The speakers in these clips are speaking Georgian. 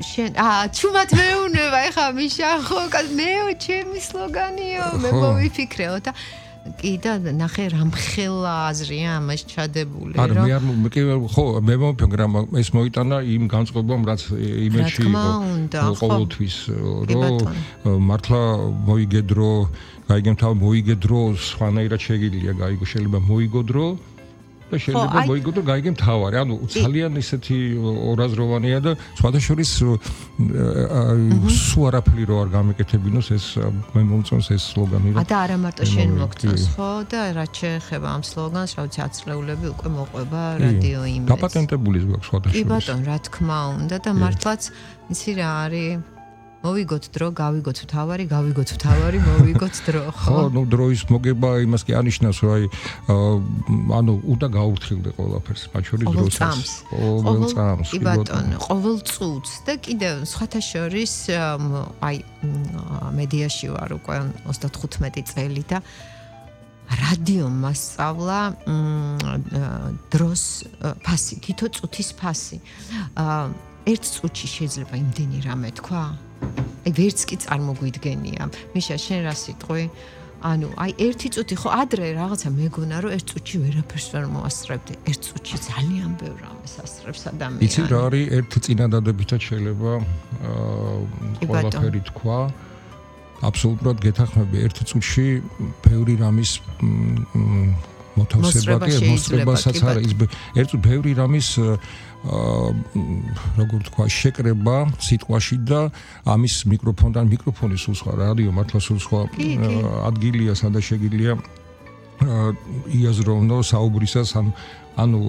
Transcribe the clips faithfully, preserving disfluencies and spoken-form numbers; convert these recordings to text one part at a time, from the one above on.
შენ აა ჩუმად მეუნება ეხა მიშა ხო მეო ჩემი სლოგანიო მე მოვიფიქრეო და კი და ნახე რამხელა აზრია ამას ჩადებული რომ არა მე არ კი ხო მე მომფიქრე რომ ეს მოიტანა იმ განწყობამ რაც იმეში იყო ყოველთვის რომ მართლა მოიგედრო გაიგემთავ მოიგედრო სხვანაირად შეგიძლია გაიგო შეიძლება მოიგოდრო და შეიძლება მოიგოდრო გაიგემთავარი ანუ ძალიან ისეთი ორაზროვანია და სხვადასხვის სულ არაფერი რო არ გამეკეთებინოს ეს მე მომწონს ეს სლოგანი რა და არა მარტო შენ მოგწონს ხო და რაც შეეხება ამ სლოგანს რა ვიცი აცლეულები უკვე მოყვება რადიო იმედს დაპატენტებული გვაქვს სხვადასხვის კი ბატონ რა თქმა უნდა და მართლაც იცი რა არის მოვიგოთ დრო, გავიგოთ თავარი, გავიგოთ თავარი, მოვიგოთ დრო, ხო? ხო, ნუ დროის მოგება იმას კი ანიშნავს, რომ აი ანუ უნდა გაურთხილდე ყველაფერს, მათ შორის დროსაც. ყოველ წამს. კი ბატონო, ყოველ წუთს და კიდევ სხვათა შორის აი მედიაში ვარ უკვე ოცდათხუთმეტი წელი და რადიომ მასწავლა დროს ფასი, თითო წუთის ფასი. ერთ წუთში შეიძლება იმდენი რამე თქვა? აი ვერც კი წარმოგვიდგენია. მიშა შენ რა სიტყვი? ანუ აი ერთი წუთი ხო ადრე რაღაცა მეგონა რომ ერთ წუთში ვერაფერს ვერ მოასწრებდი. ერთ წუთში ძალიან ბევრ რამეს ასწრებს ადამიანი. იცი რა არის ერთ წინადადებითაც შეიძლება ყველაფერი თქვა. აბსოლუტურად გეთახმები ერთ წუთში ბევრი რამის მოთავსება კი მოსწრებასაც არა ის ერთ ბევრი რამის როგორ თქვა შეკრება სიტყვაში და ამის მიკროფონთან მიკროფონი სულ სხვა რადიო მართლა სულ სხვა ადგილია სადაც შეგიძლია იაზროვნო საუბრისას ან ანუ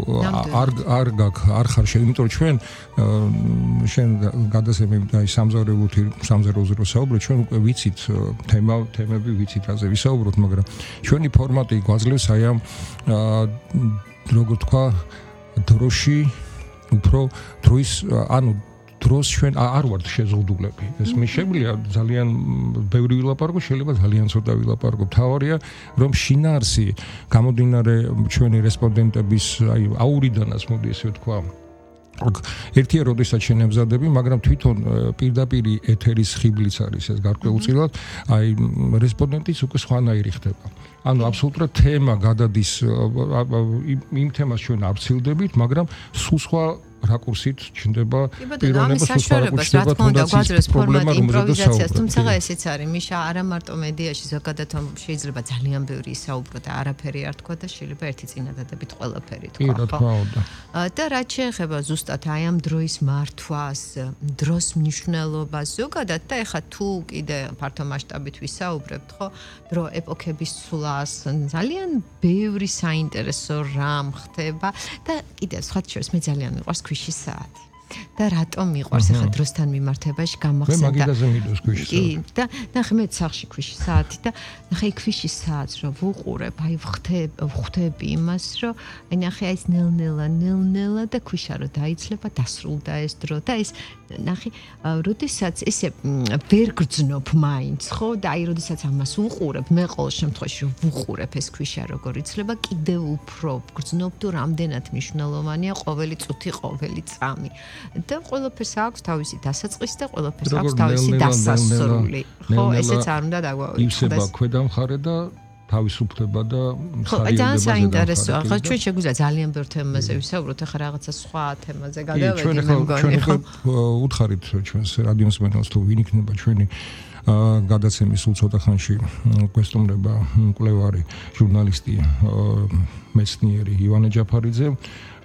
არ არ არ ხარ შენ იმიტომ რომ ჩვენ შენ გადასემები აი სამზარეულოთი სამზარეულოზე რო საუბრობ ჩვენ უკვე ვიცით თემა თემები ვიცით რაზე ვისაუბროთ მაგრამ ჩვენი ფორმატი გვაძლევს აი ამ როგორ თქვა დროში უფრო დროის ანუ დროს ჩვენ არ ვართ შეზღუდულები. ეს მე შეგვიძლია ძალიან ბევრი ვილაპარაკო, შეიძლება ძალიან ცოტა ვილაპარაკო. თავარია რომ შინაარსი გამომდინარე ჩვენი რესპონდენტების აი აურიდანაც მოდი ესე ვთქვა. ერთია როდესაც შენ ემზადები, მაგრამ თვითონ პირდაპირი ეთერის ხიბლიც არის ეს გარკვეულწილად, აი რესპონდენტიც უკვე სხვანაირი ხდება. ანუ აბსოლუტურად თემა გადადის იმ თემას ჩვენ არ ვცილდებით, მაგრამ სულ სხვა რაკურსით ჩნდება პიროვნება სულ სხვა რაკურსით ჩნდება თუნდაც პრობლემა იმპროვიზაციას თუმცა ესეც არის მიშა არა მარტო მედიაში ზოგადად შეიძლება ძალიან ბევრი ისაუბრო და არაფერი არ თქვა და შეიძლება ერთი წინადადებით ყველაფერი თქვა ხო და რაც შეეხება ზუსტად აი ამ დროის მართვას დროს მნიშვნელობას ზოგადად და ეხა თუ კიდე ფართო მასშტაბით ვისაუბრებთ ხო დრო ეპოქების ცვლას ძალიან ბევრი საინტერესო რამ ხდება და კიდე სხვა შორის მე ძალიან მიყვარს ქვიშის საათი. და რატომ მიყვარს ახლა დროსთან მიმართებაში გამახსენდა. მე მაგიდაზე მიდოს ქვიშის საათი. კი, და ნახე მე სახში ქვიშის საათი და ნახე ქვიშის საათს რომ ვუყურებ, აი ვხდები, ვხდები იმას, რომ აი ნახე აი ეს ნელ-ნელა, ნელ-ნელა და ქვიშა რომ დაიცლება, დასრულდა ეს დრო და ეს ნახე, როდესაც ესე ვერ გრძნობ მაინც, ხო? და აი როდესაც ამას ვუყურებ, მე ყოველ შემთხვევაში ვუყურებ ეს ქვიშა როგორ იცლება, კიდევ უფრო გრძნობ თუ რამდენად მნიშვნელოვანია ყოველი წუთი, ყოველი წამი. და ყველაფერს აქვს თავისი დასაწყისი და ყველაფერს აქვს თავისი დასასრული. ხო, ესეც არ უნდა დაგვაუწყდეს. ივსება ქვედა მხარე და თავისუფლდება და მხარეებდება. ძალიან საინტერესოა. ახლა ჩვენ შეგვიძლია ძალიან ბევრ თემაზე ვისაუბროთ, ახლა რაღაცა სხვა თემაზე გადავედი მე მგონი. ჩვენ უთხარით ჩვენს რადიოს მენელს თუ ვინ იქნება ჩვენი გადაცემის სულ ცოტა ხანში გვესტუმრება მკვლევარი ჟურნალისტი მეცნიერი ივანე ჯაფარიძე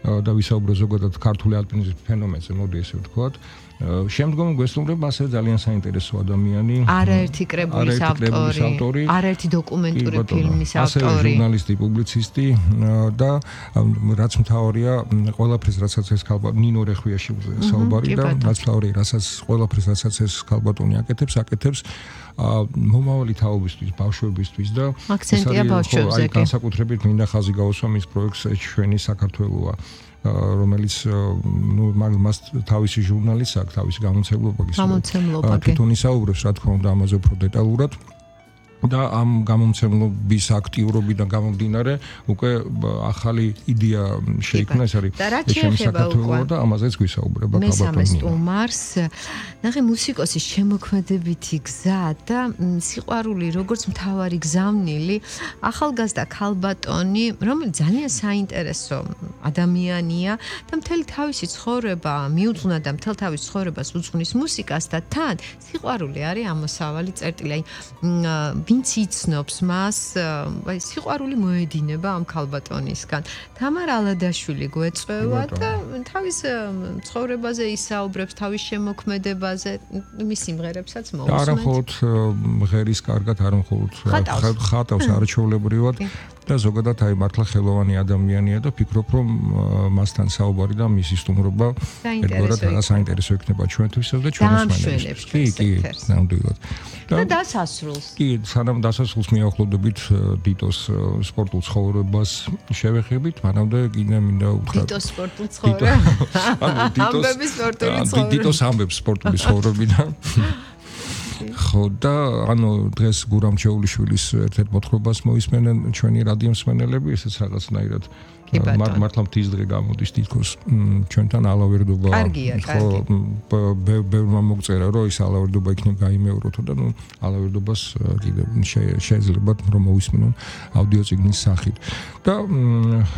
და ვისაუბრო ზოგადად ქართული ალპინიზმის ფენომენზე, მოდი ესე ვთქვათ. შემდგომ გვესტუმრება ასევე ძალიან საინტერესო ადამიანი. არაერთი კრებულის ავტორი, არაერთი დოკუმენტური ფილმის ავტორი. ასევე ჟურნალისტი, პუბლიცისტი და რაც მთავარია, ყველაფერს რასაც ეს ქალბატონი ნინო რეხვიაშვილზე საუბარი და რაც მთავარია, რასაც ყველაფერს რასაც ეს ქალბატონი აკეთებს, აკეთებს მომავალი თაობისთვის, ბავშვებისთვის და აქცენტია ბავშვებზე. აი განსაკუთრებით მინდა ხაზი გავუსვა მის პროექტს ჩვენი საქართველოა. რომელიც ნუ მას თავისი ჟურნალიც აქვს, თავისი გამოცემლობა გამოცემლობა კი. თვითონ ისაუბრებს, რა თქმა უნდა, ამაზე უფრო დეტალურად. და ამ გამომცემლობის აქტიურობიდან გამომდინარე უკვე ახალი იდეა შეიქმნა ეს არის ჩემი საქართველო და ამაზეც გვისაუბრება ქალბატონი მესამე სტუმარს ნახე მუსიკოსის შემოქმედებითი გზა და სიყვარული როგორც მთავარი გზავნილი ახალგაზრდა ქალბატონი რომელიც ძალიან საინტერესო ადამიანია და მთელი თავისი ცხოვრება მიუძღვნა და მთელ თავის ცხოვრებას უძღვნის მუსიკას და თან სიყვარული არის ამოსავალი წერტილი აი ვინც იცნობს მას, აი სიყვარული მოედინება ამ ქალბატონისგან. თამარ ალადაშვილი გვეწევა და თავის ცხოვრებაზე ისაუბრებს, თავის შემოქმედებაზე, მის სიმღერებსაც მოусმენთ. არა მხოლოდ ღერის კარგად, არა მხოლოდ ხატავს არაჩვეულებრივად და ზოგადად აი მართლა ხელოვანი ადამიანია და ფიქრობ რომ მასთან საუბარი და მისი სტუმრობა ერთგვარად საინტერესო იქნება ჩვენთვისაც და ჩვენს მანერებს. კი, კი, ნამდვილად. და დასასრულს. კი, სანამ დასასრულს მიახლოვდებით დიტოს სპორტულ ცხოვრებას შევეხებით, მანამდე კიდე მინდა უთხრა დიტოს სპორტულ ცხოვრებას. ანუ დიტოს ამბების სპორტული ცხოვრება. დიტოს ამბებს სპორტული ცხოვრებიდან. ხო და ანუ დღეს გურამ ჩეულიშვილის ერთ-ერთ მოთხრობას მოისმენენ ჩვენი რადიო მსმენელები, ესეც რაღაცნაირად მართლა მთის დღე გამოდის თითქოს ჩვენთან ალავერდობა ხო ბევრმა მოგწერა რომ ის ალავერდობა იქნებ გაიმეოროთო და ნუ ალავერდობას კიდე შეიძლება რომ მოისმენონ აუდიო წიგნის სახით და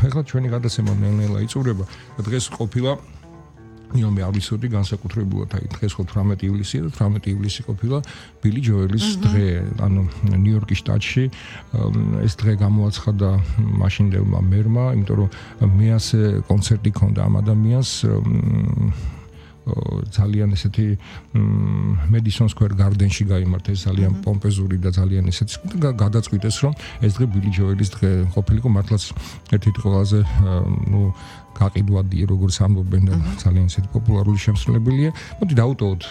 ეხლა ჩვენი გადაცემა ნელ-ნელა იწურება დღეს ყოფილა იომი ავრისოდი განსაკუთრებულად აი დღეს ხო თვრამეტი ივლისია და თვრამეტი ივლისი ყოფილა ბილი ჯოელის დღე ანუ ნიუ-იორკის შტატში ეს დღე გამოაცხადა მაშინდელმა მერმა იმიტომ რომ მეასე კონცერტი ჰქონდა ამ ადამიანს ძალიან ესეთი მედისონ სკვერ გარდენში გაიმართა ეს ძალიან პომპეზური და ძალიან ესეთი გადაწყვიტეს რომ ეს დღე ბილი ჯოელის დღე ყოფილიყო მართლაც ერთ-ერთი ყველაზე ნუ გაყიდვადია როგორც ამბობენ და ძალიან ესეთი პოპულარული შემსრულებელია. მოდი დავუტოვოთ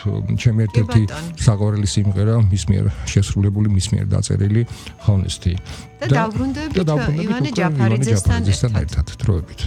ჩემი ერთ-ერთი საყვარელი სიმღერა მის მიერ შესრულებული მის მიერ დაწერილი Honesty. და დავბრუნდებით ივანე ჯაფარიძესთან ერთად. დროებით.